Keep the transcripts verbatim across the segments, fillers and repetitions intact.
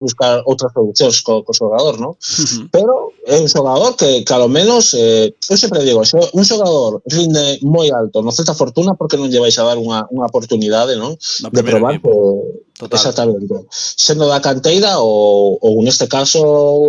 buscar outras solucións co, co xogador, non? Uh-huh. Pero é un xogador que, que ao menos, eh, eu sempre digo, se un xogador rinde moi alto no Celta Fortuna, porque non lle vais a dar unha, unha oportunidade, non? No De probar que, exactamente, sendo da canteira ou, ou neste caso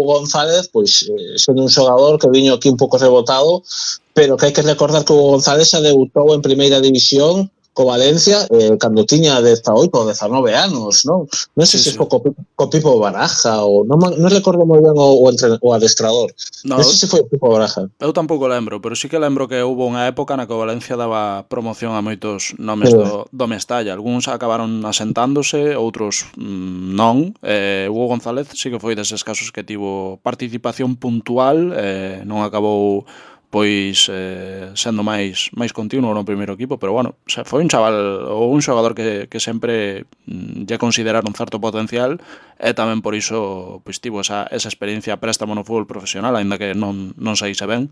González, pois eh, sendo un xogador que viño aquí un pouco rebotado, pero que hai que recordar que o González xa debutou en primeira división co Valencia eh, cando tiña dezaoito ou dezanove anos, non? Non sei sí, se sí. foi co, co Pipo Baraja ou non, non recordo moi ben o, o, entre, o adestrador. No, non sei se foi o Pipo Baraja. Eu tampouco lembro, pero sí que lembro que houve unha época na que o Valencia daba promoción a moitos nomes sí. do, do Mestalla. Algúns acabaron asentándose, outros mmm, non. Eh, Hugo González sí que foi deses casos que tivo participación puntual, eh, non acabou pois eh, sendo máis máis continuo no primeiro equipo, pero bueno, foi un chaval ou un xogador que, que sempre mm, lle consideraron certo potencial e tamén por iso pois tivo esa, esa experiencia préstamo no fútbol profesional, aínda que non, non saíse ben.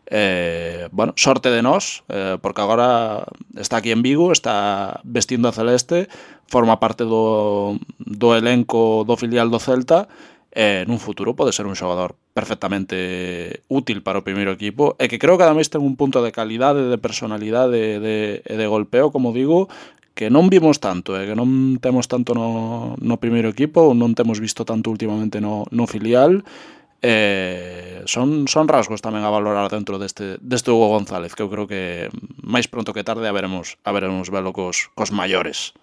Eh, bueno, sorte de nós, eh, porque agora está aquí en Vigo, está vestindo a celeste, forma parte do, do elenco do filial do Celta. Eh, nun futuro pode ser un xogador perfectamente útil para o primeiro equipo e que creo que ademais ten un punto de calidade, de personalidade e de, de golpeo, como digo, que non vimos tanto, eh, que non temos tanto no, no primeiro equipo, non temos visto tanto últimamente no, no filial. Eh, son, son rasgos tamén a valorar dentro deste, deste Hugo González, que eu creo que máis pronto que tarde a veremos, a veremos velo cos, cos maiores.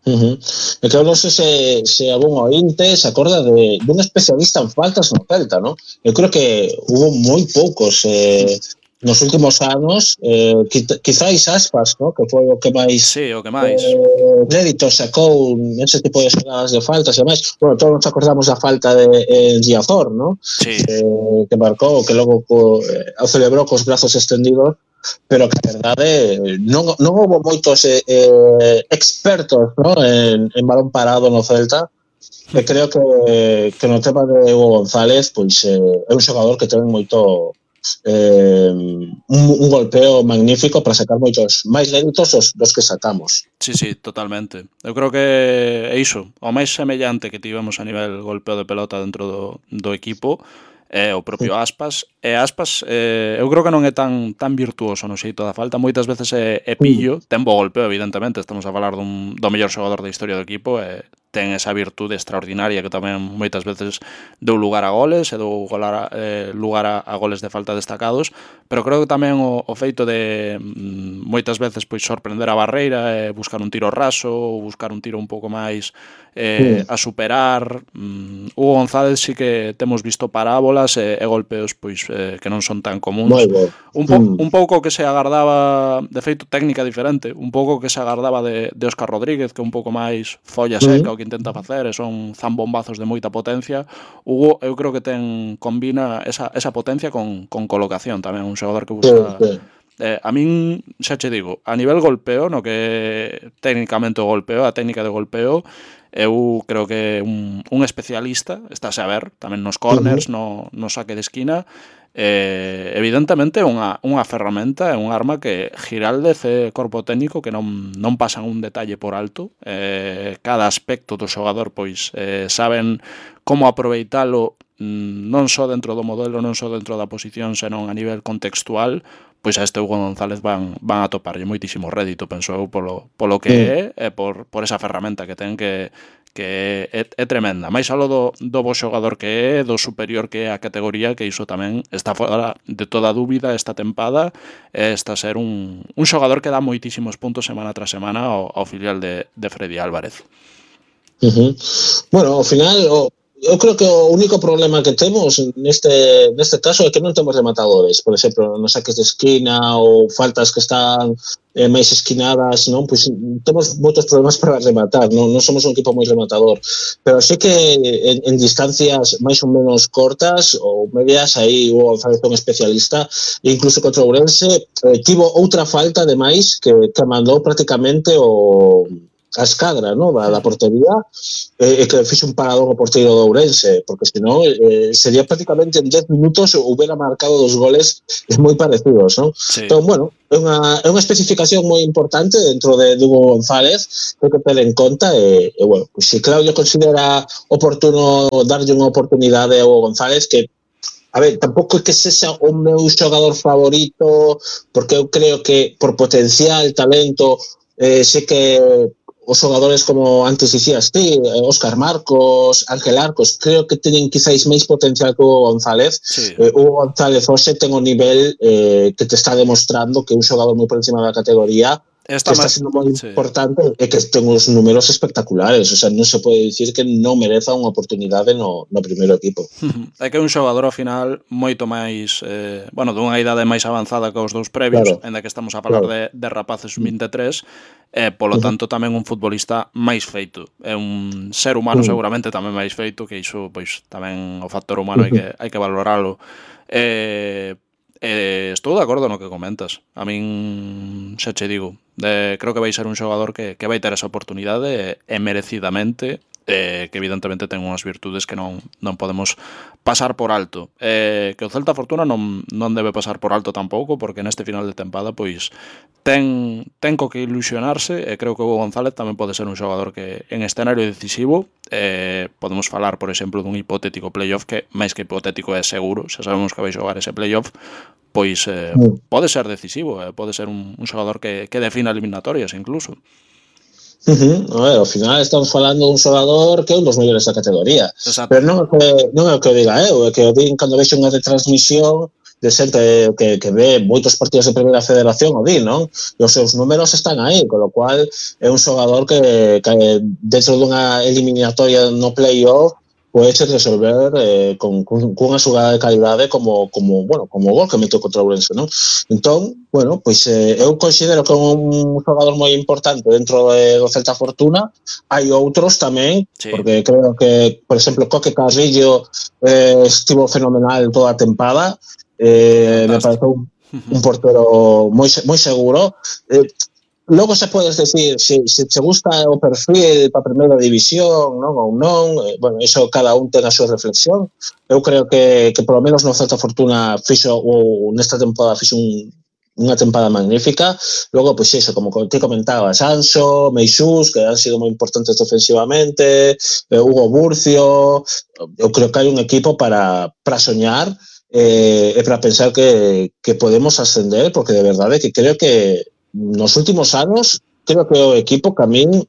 Uh-huh. E que eu non sei se, se algún ointe se acorda de, de un especialista en faltas no Celta, ¿no? Eu creo que hubo moi poucos eh, nos últimos anos, eh, quizáis Aspas, ¿no? Que foi o que máis sí, o que máis eh, crédito sacou nese tipo de xogadas de faltas e máis. Bueno, todos nos acordamos da falta de eh, Giazor, ¿no? Sí. Eh, que marcou, que logo co, eh, o celebrou cos brazos estendidos, pero que a verdade non, non houve moitos eh, eh, expertos, ¿no? en, en balón parado no Celta, e creo que, que no tema de Hugo González pois eh, é un xogador que ten moito eh, un, un golpeo magnífico para sacar moitos máis léditos dos, dos que sacamos. Sí, sí, totalmente. Eu creo que é iso, o máis semellante que tivemos a nivel golpeo de pelota dentro do, do equipo é o propio Aspas, e Aspas eh, eu creo que non é tan tan virtuoso no xeito da falta, moitas veces é, é pillo, ten bo golpeo evidentemente, estamos a falar dun, do mellor xogador da historia do equipo e ten esa virtude extraordinaria que tamén moitas veces deu lugar a goles e deu golar, eh, lugar a, a goles de falta destacados, pero creo que tamén o, o feito de mm, moitas veces pois sorprender a barreira e buscar un tiro raso ou buscar un tiro un pouco máis eh, a superar. mm, Hugo González sí que temos visto parábolas e, e golpeos pois eh, que non son tan comuns, un, po, mm. un pouco que se agardaba, de feito técnica diferente, un pouco que se agardaba de, de Óscar Rodríguez, que é un pouco máis folla seca, mm. o que intenta facer e son zambombazos de moita potencia. Hugo eu creo que ten combina esa, esa potencia con, con colocación tamén, un xogador que busca sí, sí. Eh, a min, xa che digo, a nivel golpeo, no que técnicamente o golpeo, a técnica de golpeo, eu creo que un, un especialista, estáse a ver, tamén nos corners, uh-huh. no, no saque de esquina, eh, evidentemente unha, unha ferramenta, é un arma que Giraldez e corpo técnico que non, non pasan un detalle por alto, eh, cada aspecto do xogador pois eh, saben como aproveitalo non só dentro do modelo, non só dentro da posición, senón a nivel contextual, pois a este Hugo González van, van a toparlle moitísimo rédito, penso eu, polo, polo que sí. é e por, por esa ferramenta que ten que que é, é tremenda. Mais aló do, do bo xogador que é, do superior que é a categoría, que iso tamén está fora de toda dúbida esta tempada, e está a ser un, un xogador que dá moitísimos puntos semana tras semana ao, ao filial de, de Freddy Álvarez. Uh-huh. Bueno, ao final o eu creo que o único problema que temos neste neste caso é que non temos rematadores, por exemplo, nos saques de esquina ou faltas que están eh, máis esquinadas, non? Pois temos moitos problemas para rematar, non, non somos un equipo moi rematador, pero sei que en, en distancias máis ou menos cortas ou medias, aí o González é un especialista, e incluso contra o Ourense eh, tivo outra falta ademais que, que mandou prácticamente o a escadra, ¿no? da, da portería, e eh, que fixe un parador o porteiro do Ourense, porque senón eh, sería prácticamente en dez minutos hubiera marcado dos goles moi parecidos, ¿no? Sí. Entón, bueno, é unha, é unha especificación moi importante dentro de, de Hugo González, que hai que ter en conta, e, e bueno, pues, si Claudio considera oportuno darlle unha oportunidade a Hugo González, que a ver, tampouco é que sexa o meu xogador favorito, porque eu creo que por potencial, talento, eh, sei que os xogadores como antes dicías ti, Óscar Marcos, Ángel Arcos, creo que teñen quizáis máis potencial que Hugo González. Sí. Eh, Hugo González hoxe ten o nivel eh, que te está demostrando que é un xogador moi por encima da categoría, Está que está máis, sendo moi sí. importante e que ten uns números espectaculares, o sea, non se pode dicir que non mereza unha oportunidade no, no primeiro equipo. É que é un xogador ao final moito máis, eh, bueno, dunha idade máis avanzada que os dous previos, Claro, ainda que estamos a falar claro. de, de rapaces vinte e tres, e eh, polo Uh-huh. tanto tamén un futbolista máis feito. É un ser humano Uh-huh. seguramente tamén máis feito, que iso, pois, tamén o factor humano hai Uh-huh. que, hai que valoralo. Eh, Eh, estou de acordo no que comentas. A min, xa che digo, de, creo que vai ser un xogador que, que vai ter esa oportunidade e, e merecidamente, eh, que evidentemente ten unhas virtudes que non, non podemos pasar por alto. Eh, que o Celta Fortuna non, non debe pasar por alto tampouco, porque neste final de tempada pois ten, ten co que ilusionarse, e creo que Hugo González tamén pode ser un xogador que en escenario decisivo, eh, podemos falar, por exemplo, dun hipotético playoff que máis que hipotético é seguro, xa sabemos que vai xogar ese playoff, pois eh, Uh-huh. pode ser decisivo, eh, pode ser un, un xogador que, que defina eliminatorias incluso. Uh-huh. A ver, ao final estamos falando dun xogador que é un dos mellores da categoría. Exacto. Pero non é que, non é o que o diga eu, é que o din cando vexo unha retransmisión de xente que, que ve moitos partidos de Primeira Federación, o di, non? E os seus números están aí, con lo cual é un xogador que, que dentro dunha eliminatoria no play-off podes resolver eh, con, con, cunha xogada de calidade como, como, bueno, como o gol que meteu contra o Ourense, non? Entón, bueno, pois eh, eu considero que é un xogador moi importante dentro de, do Celta Fortuna. Hai outros tamén, Sí. porque creo que, por exemplo, Coque Carrillo eh, estivo fenomenal toda a tempada, eh, me parece un, un portero moi, moi seguro. Eh, Logo se podes decir se, se te gusta o perfil para a primeira división, non ou non, eh, bueno, iso cada un ten a súa reflexión. Eu creo que, que polo menos no Celta Fortuna fixo, ou nesta temporada fixo un, unha tempada magnífica. Logo, pois iso, como te comentaba, Sanso, Meixús, que han sido moi importantes ofensivamente, eh, Hugo Burcio. Eu creo que hai un equipo para, para soñar eh, e para pensar que, que podemos ascender, porque de verdade que creo que nos últimos anos creo que o equipo que a min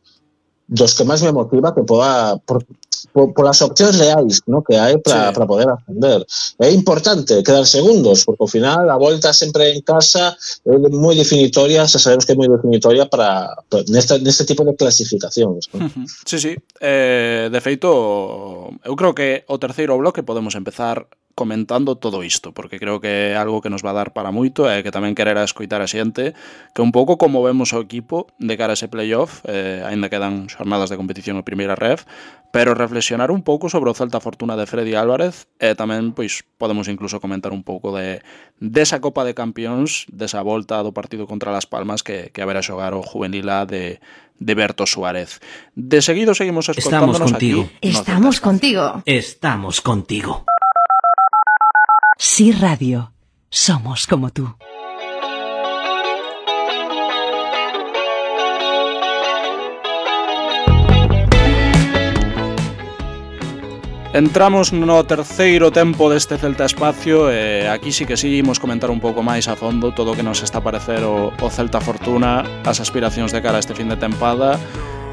dos que máis me motiva que poda por, por, por as opcións reais, ¿no? Que hai para Sí. poder ascender. É importante quedar segundos, porque ao final a volta sempre en casa é moi definitoria, xa sabemos que é moi definitoria para, para neste, neste tipo de clasificacións, ¿no? Sí, sí. Eh, de feito, eu creo que o terceiro bloque podemos empezar comentando todo isto, porque creo que é algo que nos va a dar para moito e que tamén quererá escoitar a xente, que un pouco como vemos o equipo de cara a ese playoff, eh, aínda quedan xornadas de competición en primeira ref, pero reflexionar un pouco sobre o Celta Fortuna de Freddy Álvarez, e tamén pois podemos incluso comentar un pouco de desa Copa de Campións, desa volta do partido contra Las Palmas que, que haberá xogar o juvenil A de de Berto Suárez. De seguido seguimos escoltándonos aquí. Estamos contigo. Estamos contigo. Sí Radio. Somos como tú. Entramos no terceiro tempo deste Celta Espacio e aquí sí que sí imos comentar un pouco máis a fondo todo o que nos está a parecer o, o Celta Fortuna, as aspiracións de cara a este fin de tempada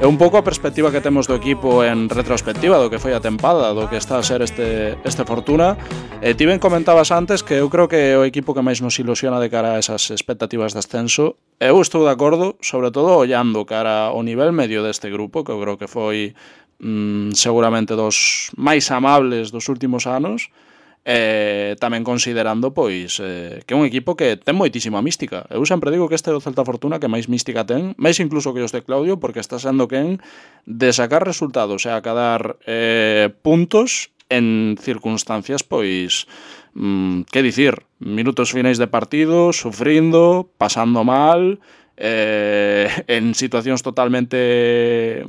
e un pouco a perspectiva que temos do equipo en retrospectiva do que foi a tempada, do que está a ser este, este Fortuna. E ti ben comentabas antes que eu creo que o equipo que máis nos ilusiona de cara a esas expectativas de ascenso. Eu estou de acordo, sobre todo ollando cara ao nivel medio deste grupo, que eu creo que foi Mm, seguramente dos máis amables dos últimos anos, e tamén considerando pois eh, que é un equipo que ten moitísima mística. Eu sempre digo que este é o Celta Fortuna que máis mística ten, máis incluso que os de Claudio, porque está sendo quen de sacar resultados e acadar eh, puntos en circunstancias pois mm, que dicir, minutos finais de partido, sufrindo, pasando mal eh, en situacións totalmente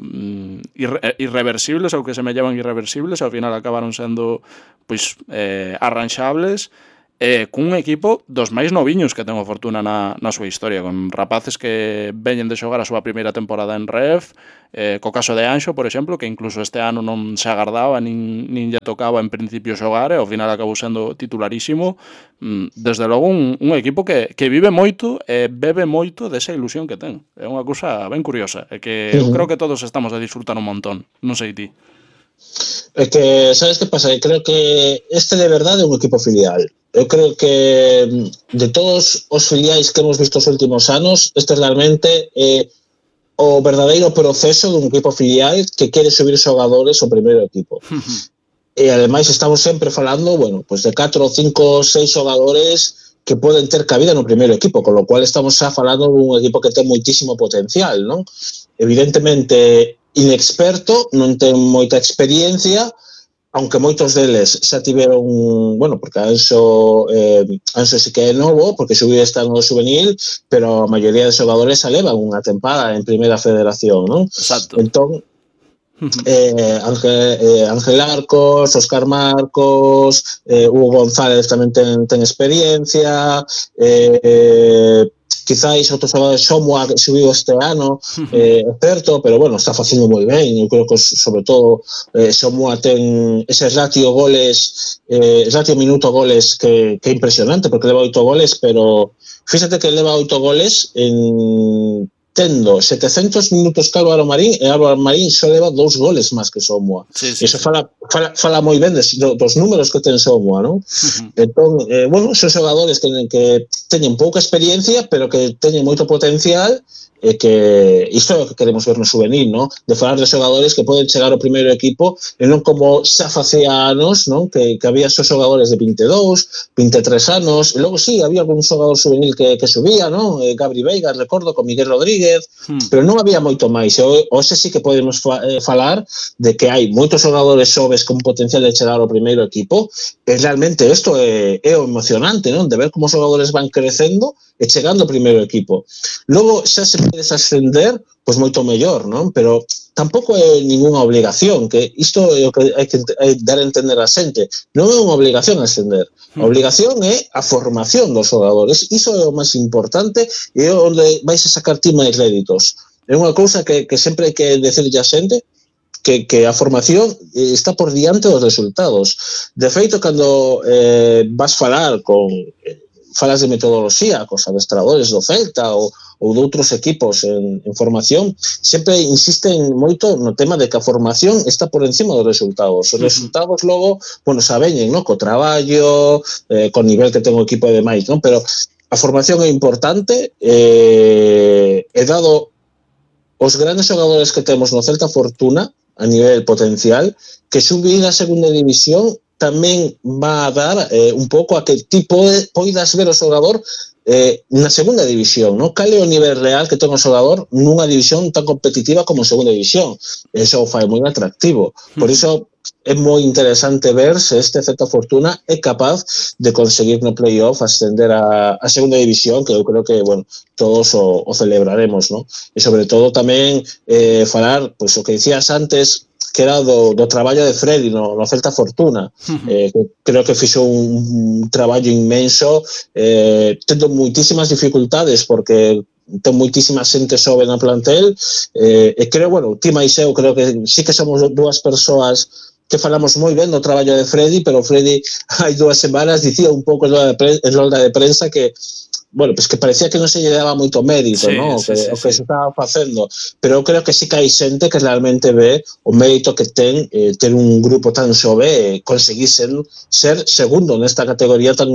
irre irreversibles ou que se me llevan irreversibles, ao final acabaron sendo pois eh, arranxables, eh, cun equipo dos máis noviños que ten o Fortuna na, na súa historia, con rapaces que veñen de xogar a súa primeira temporada en Ref, eh, co caso de Anxo, por exemplo, que incluso este ano non se agardaba, nin, nin lle tocaba en principio xogar, e ao final acabou sendo titularísimo. Desde logo un, un equipo que, que vive moito e bebe moito desa ilusión que ten. É unha cousa ben curiosa, e que eu creo que todos estamos a disfrutar un montón. Non sei ti. É que, sabes que pasa? Eu creo que este de verdade é un equipo filial. Eu creo que de todos os filiais que hemos visto os últimos anos, este realmente é o verdadeiro proceso dun equipo filial que quere subir xogadores ao primeiro equipo. E ademais estamos sempre falando, bueno, pues de catro, cinco, seis xogadores que poden ter cabida no primeiro equipo, con lo cual estamos xa falando dun equipo que ten moitísimo potencial, non? Evidentemente inexperto, non ten moita experiencia, aunque moitos deles xa tiveron, bueno, porque Anxo, eh, Anxo sí que é novo, porque subiu este ano juvenil, pero a maioría de xogadores xa levan unha tempada en primeira federación, non? Exacto. Entón, eh, Ángel, eh, Ángel Arcos, Óscar Marcos, eh, Hugo González tamén ten, ten experiencia, eh, quizáis outros xogadores, Somoa que subiu este ano, eh, é certo, pero bueno, está facendo moi ben. Eu creo que sobre todo eh, Somoa ten ese ratio goles, eh, ratio minuto goles que, que é impresionante, porque leva oito goles, pero fíxate que leva oito goles en tendo setecentos minutos que Álvaro Marín, e Álvaro Marín só leva dous goles máis que Somoa. Sí, sí, Iso sí. fala, fala, fala moi ben des, dos números que ten Somoa, non? Uh-huh. Entón, eh, bueno, son xogadores que, que teñen pouca experiencia, pero que teñen moito potencial, e que isto é o que queremos ver no juvenil, non? De falar de xogadores que poden chegar ao primeiro equipo e non como xa facía anos, non? Que, que había só xogadores de vinte e dous, vinte e tres anos, e logo sí, había algún xogador juvenil que, que subía, non? Eh, Gabri Veiga, recordo, con Miguel Rodríguez, hmm. pero non había moito máis. E hoxe sí que podemos fa, eh, falar de que hai moitos xogadores xoves con potencial de chegar ao primeiro equipo, e realmente isto é, é o emocionante, non? De ver como os xogadores van crecendo e chegando ao primeiro equipo. Logo, xa se podes ascender, pois moito mellor, non? Pero tampouco é ninguna obligación, que isto é o que hai que dar a entender a xente. Non é unha obligación ascender. A obligación é a formación dos xogadores. Iso é o máis importante e é onde vais a sacar ti máis réditos. É unha cousa que, que sempre hai que decirlle a xente, que, que a formación está por diante dos resultados. De feito, cando eh, vas falar con... Eh, falas de metodoloxía, cos adestradores do Celta ou, ou de outros equipos en, en formación, sempre insisten moito no tema de que a formación está por encima dos resultados. Os resultados logo, bueno, xa veñen, no? Co traballo, eh, co nivel que ten o equipo e demais, non? Pero a formación é importante, eh, e dado os grandes xogadores que temos no Celta Fortuna, a nivel potencial, que subir a segunda división tamén va a dar eh, un pouco a que ti pode, poidas ver o xogador eh, na segunda división, non? Cal é o nivel real que ten o xogador nunha división tan competitiva como a segunda división. Eso o fai moi atractivo. Por iso é moi interesante ver se este Celta Fortuna é capaz de conseguir no playoff ascender a, a segunda división, que eu creo que, bueno, todos o, o celebraremos, non? E sobre todo tamén eh, falar, pois o que dicías antes, que era do, do traballo de Freddy no, no Celta Fortuna. Uh-huh. eh, que creo que fixo un, un traballo inmenso, eh, tendo moitísimas dificultades, porque ten moitísima xente xove na plantel, eh, e creo, bueno, ti máis eu, creo que sí que somos dúas persoas que falamos moi ben do traballo de Freddy, pero Freddy hai dúas semanas dicía un pouco en rolda de prensa que, bueno, pues que parecía que non se lle daba moito mérito, sí, ¿no? Sí, que, sí, o que sí. se estaba facendo, pero eu creo que sí que hai xente que realmente ve o mérito que ten eh, ter un grupo tan xove e eh, conseguir ser, ser segundo nesta categoría tan...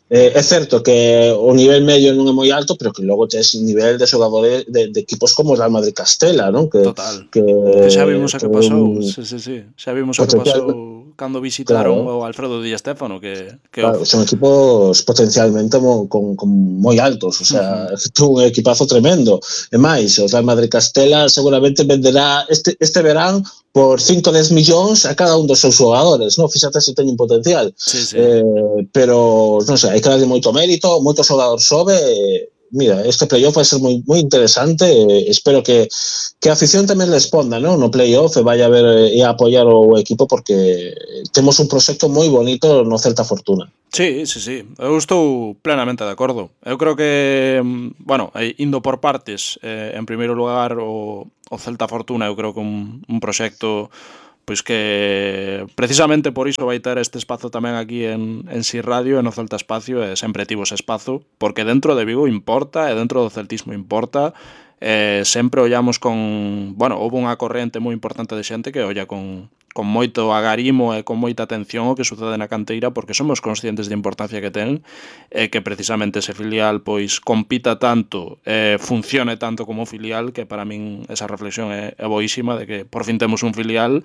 Eh, é certo que o nivel medio non é moi alto, pero que logo tes nivel de xogadores de, de equipos como o Real Madrid Castela, ¿no? Que, total, que, que xa vimos a que pasou, un... sí, sí, sí. xa vimos a que pasou cando visitaron claro. o Alfredo Di Stéfano, que, que claro, son equipos potencialmente mo, con, con moi altos, o sea, uh-huh. é un equipazo tremendo. E máis, o Real Madrid Castela seguramente venderá este, este verán por cinco a dez millóns a cada un dos seus xogadores, non? Fíxate se teñen potencial. Sí, sí. Eh, pero, non sei, hai que darlle moito mérito, moito xogador sobe, e, mira, este playoff vai ser moi, moi interesante, eh, espero que, que a afición tamén responda, ¿no? No playoff e vaya a ver e a apoiar o equipo porque temos un proxecto moi bonito no Celta Fortuna. Sí, sí, sí, eu estou plenamente de acordo. Eu creo que, bueno, indo por partes, eh, en primeiro lugar o, o Celta Fortuna, eu creo que un, un proxecto pois que precisamente por iso vai ter este espazo tamén aquí en, en Si Radio e no Celta Espacio, e sempre tivo ese espazo, porque dentro de Vigo importa e dentro do celtismo importa, e sempre ollamos con, bueno, houve unha corrente moi importante de xente que olla con, con moito agarimo e con moita atención o que sucede na canteira, porque somos conscientes da importancia que ten e que precisamente ese filial pois compita tanto e funcione tanto como filial, que para min esa reflexión é, é boísima de que por fin temos un filial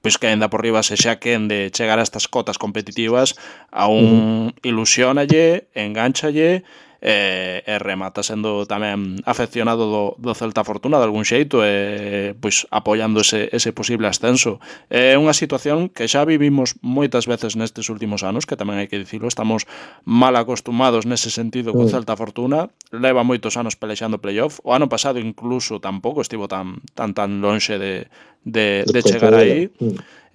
pois que ainda por riba se xa quen de chegar a estas cotas competitivas a un uh-huh. ilusionalle, enganchalle e, e remata sendo tamén afeccionado do, do Celta Fortuna de algún xeito e pois apoiando ese, ese posible ascenso. É unha situación que xa vivimos moitas veces nestes últimos anos, que tamén hai que dicilo, estamos mal acostumados nese sentido co Celta Fortuna, leva moitos anos pelexando playoff, o ano pasado incluso tampouco estivo tan tan tan lonxe de de, de chegar aí,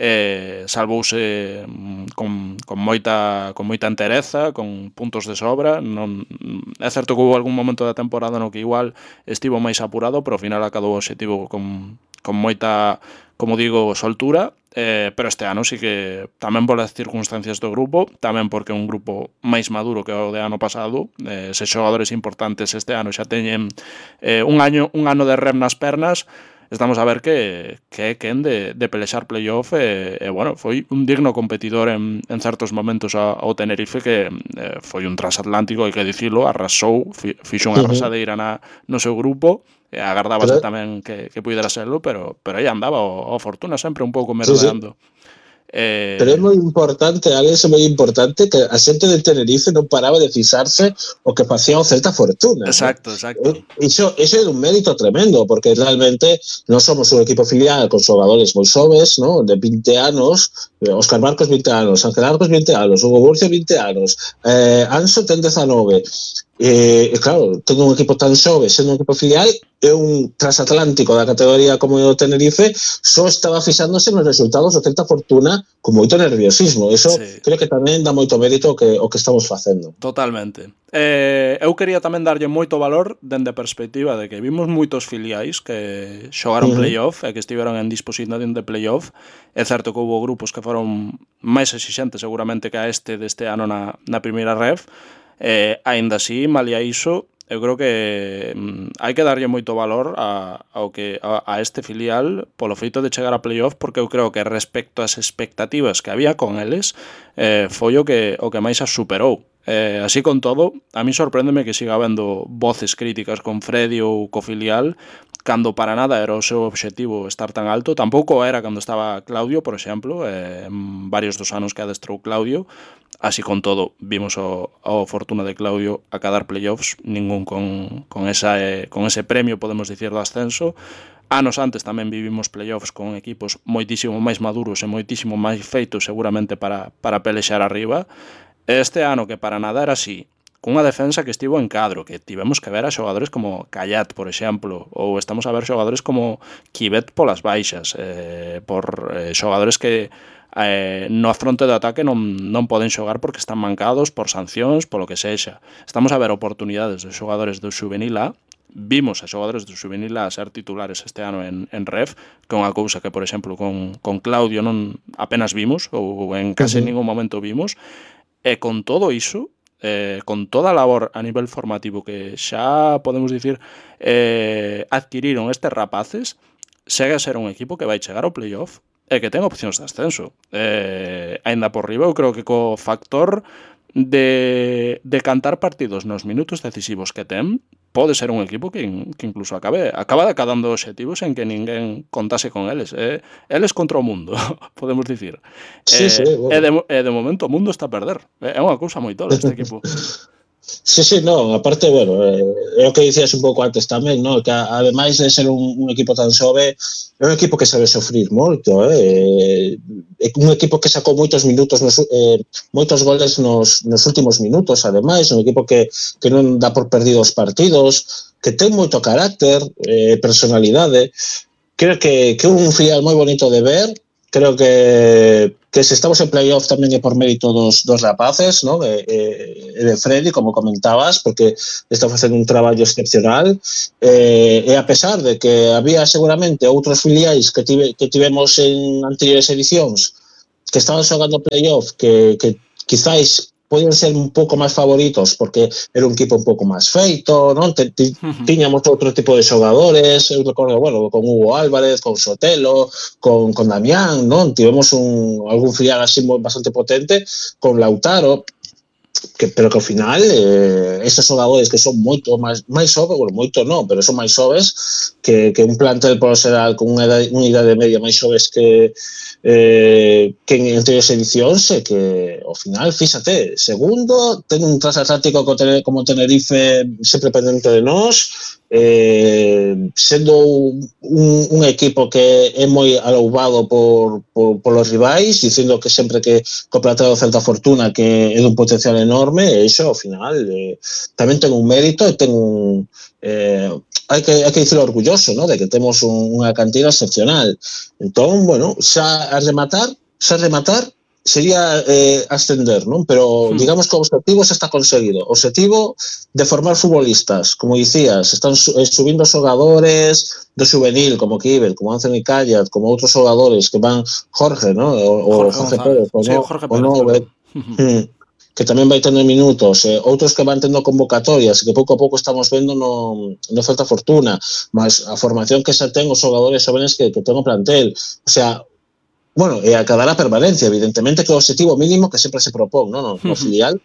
eh, salvouse con, con moita con moita entereza, con puntos de sobra. Non, é certo que houve algún momento da temporada no que igual estivo máis apurado, pero ao final acabou o obxectivo con, con moita, como digo, soltura, eh, pero este ano sí que tamén polas circunstancias do grupo, tamén porque é un grupo máis maduro que o de ano pasado, eh, se xogadores importantes este ano xa teñen eh, un año un ano de rem nas pernas. Estamos a ver que, que é quen de, de pelexar playoff e, e, bueno, foi un digno competidor en, en certos momentos ao Tenerife, que eh, foi un transatlántico, hai que dicilo, arrasou, fixo unha arrasadeira na, no seu grupo, e agardábase pero, tamén que, que pudera serlo, pero, pero aí andaba o, o Fortuna sempre un pouco merodeando. Sí, sí. Eh... Pero é moi importante, Alex, é moi importante que a xente de Tenerife non paraba de fixarse o que facía o Celta Fortuna. Exacto, ¿no? exacto. Iso, iso é un mérito tremendo, porque realmente non somos un equipo filial con xogadores moi xoves, ¿no? De vinte anos, Óscar Marcos vinte anos, Ángel Arcos vinte anos, Hugo Burcio vinte anos, eh, Anso ten dezanove. E, eh, claro, tendo un equipo tan xove, sendo un equipo filial, é un transatlántico da categoría como o Tenerife, só estaba fixándose nos resultados do Celta Fortuna con moito nerviosismo. Eso sí. Creo que tamén dá moito mérito o que, o que estamos facendo. Totalmente. Eh, eu quería tamén darlle moito valor dende a perspectiva de que vimos moitos filiais que xogaron uh-huh. playoff e que estiveron en disposición de playoff. É certo que houve grupos que foron máis exixentes seguramente que a este deste ano na, na primeira ref. Eh, aínda así, malia iso, eu creo que mm, hai que darlle moito valor a, ao que, a, a este filial polo feito de chegar a playoff, porque eu creo que respecto ás expectativas que había con eles, eh, foi o que, o que máis as superou. Eh, así con todo, a mí sorpréndeme que siga habendo voces críticas con Freddy ou co filial, cando para nada era o seu obxectivo estar tan alto. Tampouco era cando estaba Claudio, por exemplo, eh, en varios dos anos que adestrou Claudio. Así con todo, vimos o, o Fortuna de Claudio a cadar playoffs, ningún con, con, esa, eh, con ese premio, podemos dicir, do ascenso. Anos antes tamén vivimos playoffs con equipos moitísimo máis maduros e moitísimo máis feitos seguramente para, para pelexar arriba. Este ano que para nada era así, cunha defensa que estivo en cadro, que tivemos que ver a xogadores como Callat, por exemplo, ou estamos a ver xogadores como Kibet polas baixas, eh, por eh, xogadores que eh, no fronte de ataque non, non poden xogar porque están mancados por sancións, polo que sexa. Estamos a ver oportunidades de xogadores do Xuvenil A, vimos a xogadores do Xuvenil A ser titulares este ano en, en Ref, que é unha cousa que, por exemplo, con, con Claudio non apenas vimos, ou en case uh-huh. ningún momento vimos, e con todo iso, eh, con toda a labor a nivel formativo que xa podemos dicir eh, adquiriron estes rapaces, segue a ser un equipo que vai chegar ao playoff e que ten opcións de ascenso. Eh, ainda por riba, eu creo que co factor de, de cantar partidos nos minutos decisivos que ten, pode ser un equipo que, que incluso acabe acaba acadando obxectivos en que ninguén contase con eles. Eh, eles contra o mundo, podemos dicir. Sí, eh, sí, bueno. E de, e de momento o mundo está a perder. É unha cousa moi tola este equipo. Sí, sí, no, aparte, bueno, eh, é o que dicías un pouco antes tamén, no? Que a, ademais de ser un, un equipo tan xove, é un equipo que sabe sofrir moito, eh? É un equipo que sacou moitos minutos, nos, eh, moitos goles nos, nos últimos minutos, ademais, un equipo que, que non dá por perdido os partidos, que ten moito carácter, eh, personalidade. Creo que, que é un filial moi bonito de ver. Creo que, que se estamos en playoff tamén é por mérito dos, dos rapaces, ¿no? E, e de Freddy, como comentabas, porque está facendo un traballo excepcional, e, e a pesar de que había seguramente outros filiais que, tive, que tivemos en anteriores edicións que estaban xogando playoff que, que quizáis podían ser un pouco máis favoritos porque era un equipo un pouco máis feito, non? Te, te, tiñamos outro tipo de xogadores, eu recordo, bueno, con Hugo Álvarez, con Sotelo, con, con Damián, non? Tivemos un, algún filial así bastante potente, con Lautaro, que, pero que ao final eh, estes xogadores que son moito máis, máis xoves, bueno, moito non, pero son máis xoves que, que un plantel por xeral con unha idade, unha idade media máis xoves que eh, que en anteriores edicións e que ao final, fíxate, segundo, ten un transatlántico como Tenerife sempre pendente de nós, eh, sendo un, un equipo que é moi aloubado por, por, por los rivais, dicindo que sempre que co plantel do Celta Fortuna que é dun potencial enorme, e iso ao final eh, tamén ten un mérito e ten un eh, hai que, hai que dicirlo orgulloso, ¿no? De que temos un, unha cantina excepcional. Entón, bueno, xa a rematar, xa a rematar sería eh, ascender, non? Pero digamos que o objetivo xa está conseguido. O objetivo de formar futbolistas, como dicías, están subindo xogadores do juvenil, como Kivel, como Anthony Callat, como outros xogadores que van Jorge, ¿no? O, Jorge, Jorge Pérez, o, sí, no, Jorge Pérez, o no, eh, que tamén vai tendo minutos, eh, outros que van tendo convocatorias, que pouco a pouco estamos vendo no, no Celta Fortuna, mas a formación que xa ten os xogadores xóvenes que, que ten o plantel, o sea, bueno, e acadar a permanencia, evidentemente que é o objetivo mínimo que sempre se propón, no, no, no filial,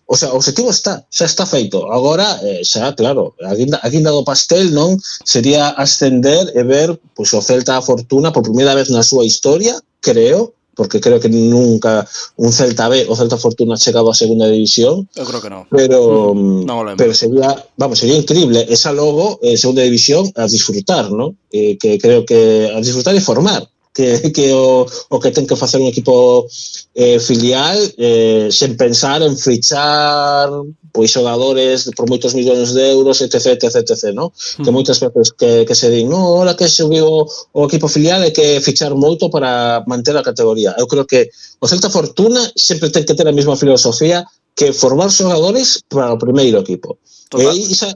o sea, o objetivo está, xa está feito, agora eh, xa, claro, a guinda, a guinda do pastel, non, sería ascender e ver, pois, o Celta Fortuna por primeira vez na súa historia, creo, porque creo que nunca un Celta B o Celta Fortuna ha chegado a segunda división. Eu creo que no. Pero, no pero sería, vamos, sería increíble esa logo, eh, segunda división, a disfrutar, ¿no? Eh, que creo que a disfrutar e formar, que, que o, o que ten que facer un equipo eh, filial eh, sen pensar en fichar pois xogadores por moitos millóns de euros, etc, etc, etc, ¿no? Mm. Que moitas veces que, que se din, no, ahora que subiu o equipo filial hai que fichar moito para manter a categoría. Eu creo que o Celta Fortuna sempre ten que ter a mesma filosofía que formar xogadores para o primeiro equipo. Total. E isa,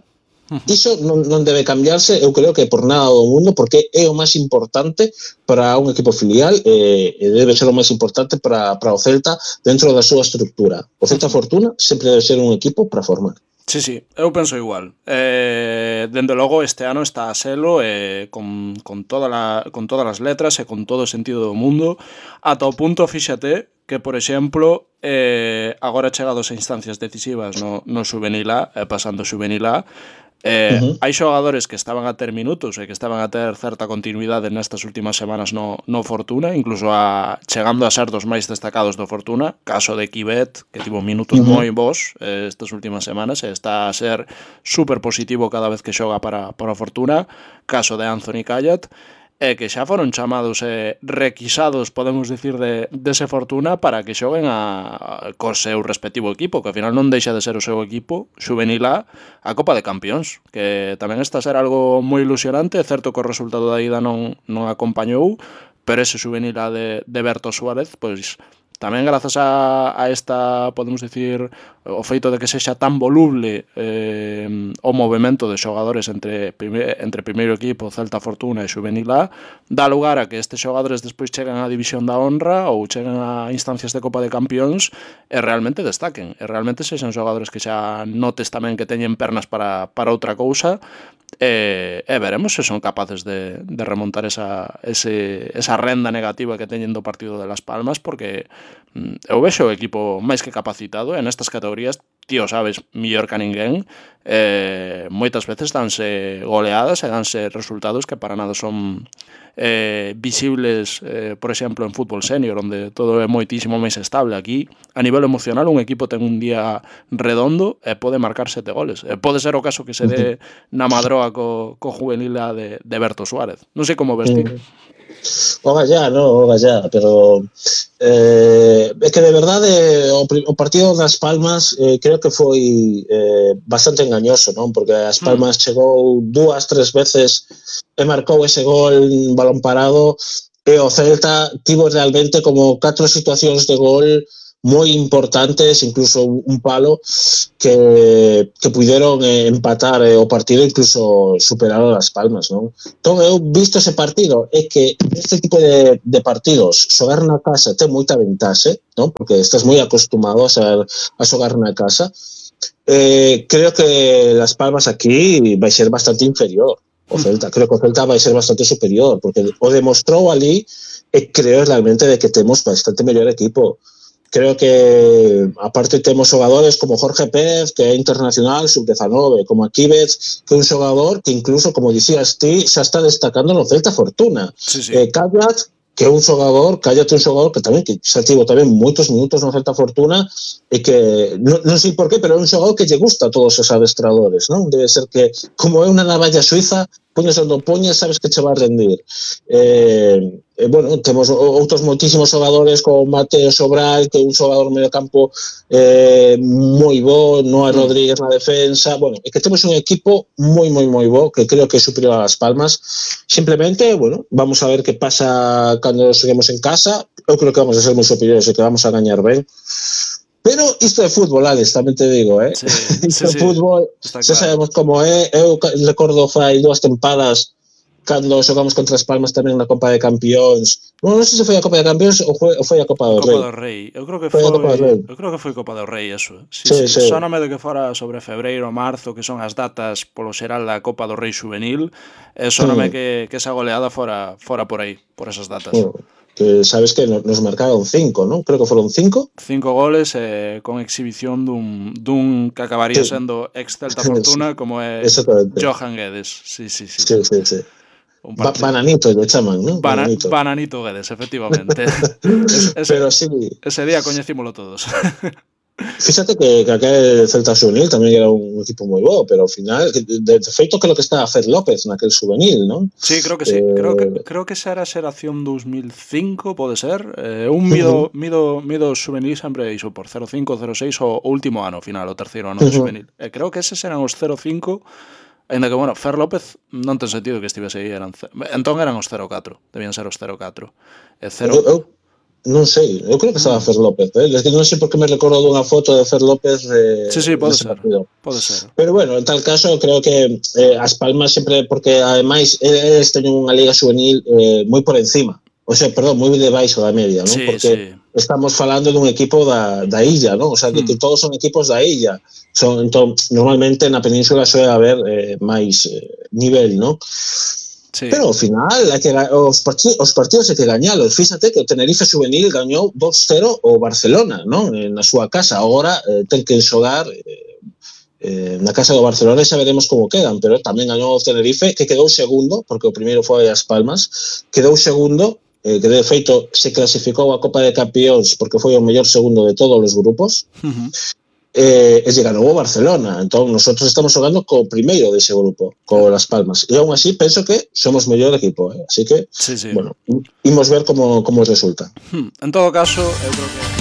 iso non, non debe cambiarse, eu creo que por nada do mundo, porque é o máis importante para un equipo filial e, e debe ser o máis importante para, para o Celta dentro da súa estructura. O Celta Fortuna sempre debe ser un equipo para formar. Sí, sí, eu penso igual. Eh, dende logo este ano está a selo eh, con, con, toda la, con todas as letras e con todo o sentido do mundo, ata o punto, fíxate, que, por exemplo, eh, agora chegados a instancias decisivas no, no Juvenil A, eh, pasando Juvenil A, Eh, uh-huh. hai xogadores que estaban a ter minutos e que estaban a ter certa continuidade nestas últimas semanas no, no Fortuna, incluso a, chegando a ser dos máis destacados do Fortuna, caso de Kivet, que tivo minutos uh-huh. moi bons eh, estas últimas semanas e está a ser super positivo cada vez que xoga para, para o Fortuna, caso de Anthony Callat, e que xa foron chamados e requisados, podemos dicir, de, de ese Fortuna para que xoguen a, a, co seu respectivo equipo, que ao final non deixa de ser o seu equipo, Juvenil A, a Copa de Campións, que tamén está a ser algo moi ilusionante. É certo que o resultado da ida non, non acompañou, pero ese Juvenil A de, de Berto Suárez, pois tamén grazas a, a esta, podemos dicir, o feito de que sexa tan voluble eh, o movimento de xogadores entre, prime, entre primeiro equipo, Celta Fortuna e Juvenil A, dá lugar a que estes xogadores despois cheguen á División da Honra ou cheguen a instancias de Copa de Campións e realmente destaquen, e realmente sexan xogadores que xa notes tamén que teñen pernas para, para outra cousa, e, e veremos se son capaces de, de remontar esa, ese, esa renda negativa que teñen do partido de Las Palmas, porque eu vexo o equipo máis que capacitado e nestas categorías tío sabes mellor que a ninguén, eh, moitas veces danse goleadas e danse resultados que para nada son eh, visibles, eh, por exemplo, en fútbol senior, onde todo é moitísimo máis estable. Aquí, a nivel emocional, un equipo ten un día redondo e pode marcar sete goles. E pode ser o caso que se dé na Madroa co, co juvenil de, de Berto Suárez. Non sei como ves ti. Oga ya, no, oga ya, pero eh, é que de verdade o, o partido das Palmas eh, creo que foi eh, bastante engañoso, non? Porque as Palmas mm. chegou dúas, tres veces e marcou ese gol en balón parado e o Celta tivo realmente como catro situacións de gol moi importantes, incluso un palo que, que puderon eh, empatar eh, o partido, incluso superar a Las Palmas, non? Entón, eu visto ese partido, é que este tipo de, de partidos, xogar na casa ten moita ventaxe, non? Porque estás moi acostumado a, ser, a xogar na casa. Eh, creo que Las Palmas aquí vai ser bastante inferior. O Celta, creo que o Celta vai ser bastante superior, porque o demostrou ali e creo realmente de que temos bastante mellor equipo. Creo que aparte temos xogadores como Jorge Pérez, que é internacional sub diecinueve, como Akívez, que é un xogador que incluso, como dicías ti, xa está destacando no Celta Fortuna. Sí, sí. Eh, Callat, que é un xogador, Callat é un xogador que tamén que xa tivo tamén moitos minutos no Celta Fortuna e que, non, non sei por qué, pero é un xogador que lle gusta a todos os adestradores, non? Debe ser que, como é unha navalla suiza, poñes onde poñes, sabes que che va a rendir. Eh, eh, bueno, temos outros moitísimos xogadores como Mateo Sobral, que é un xogador medio campo eh, moi bo, Noah Rodríguez na defensa. Bueno, é que temos un equipo moi, moi, moi bo, que creo que é superior a Las Palmas. Simplemente, bueno, vamos a ver que pasa cando seguimos en casa. Eu creo que vamos a ser moi superiores e que vamos a gañar ben. Pero isto é fútbol, Alex, tamén te digo, eh? Sí, isto sí, é fútbol, sí, xa sabemos como é. Eu recordo fai dúas tempadas cando xogamos contra as Palmas tamén na Copa de Campións. Non, non sei se foi a Copa de Campións ou foi, ou foi a Copa do Rei. Copa do Rei. Eu creo que foi, foi, foi eu creo que foi Copa do Rei, eso. Sí, sí, sí. sí. Sóname de que fora sobre febreiro, marzo, que son as datas polo xeral da Copa do Rei juvenil, e sóname mm. que, que esa goleada fora, fora por aí, por esas datas. Mm. Que sabes que nos marcaron cinco, non? Creo que foron cinco. Cinco goles eh, con exhibición dun, dun que acabaría sí. sendo ex-Celta Fortuna como é Johan Guedes. Sí, sí, sí. Sí, sí, sí. Ba bananito le chaman, non? Bana bananito. bananito Guedes, efectivamente. es, ese, Pero sí. Ese día coñecímolo todos. Fíxate que, que aquel Celta Juvenil tamén era un equipo moi bo, pero ao final, de, de feito que lo que está a Fer López naquel juvenil, non? Sí, creo que sí. Eh... Creo que creo que esa era a xeración dos mil cinco, pode ser. Eh, un mido, uh -huh. mido, mido juvenil sempre iso por cero cinco, cero seis o, o último ano final, o terceiro ano uh -huh. de juvenil. Eh, creo que eses eran os cero cinco, ainda que, bueno, Fer López non ten sentido que estivese aí. Eran, entón eran os cero catro, debían ser os cero catro. E cero... Eu, eu... Non sei, eu creo que estaba Fer López, eh? Es que non sei por que me recordo dunha foto de Fer López eh, sí, sí, pode ser, pode ser. Pero bueno, en tal caso, creo que eh, as Palmas sempre, porque ademais eles teñen unha liga juvenil eh, moi por encima, o sea, perdón, moi debaixo da media, non? Sí, porque sí. Estamos falando dun equipo da, da illa, non? O sea, de que hmm. todos son equipos da illa. Son, entón, normalmente na península suele haber eh, máis eh, nivel, non? Sí. Pero ao final hai que, os, partidos, os partidos hai que gañalos. Fíxate que o Tenerife Juvenil gañou dos cero o Barcelona, non? Na súa casa. Agora eh, ten que xogar eh, eh, na casa do Barcelona e xa veremos como quedan, pero tamén gañou o Tenerife, que quedou segundo, porque o primeiro foi as Palmas, quedou segundo, eh, que de feito se clasificou a Copa de Campións porque foi o mellor segundo de todos os grupos. Uh-huh. Eh, e lle ganou o Barcelona. Entón, nosotros estamos xogando co primeiro dese grupo, co Las Palmas. E aún así, penso que somos mellor equipo. Eh? Así que, sí, sí. bueno, imos ver como, como resulta. En todo caso, eu creo que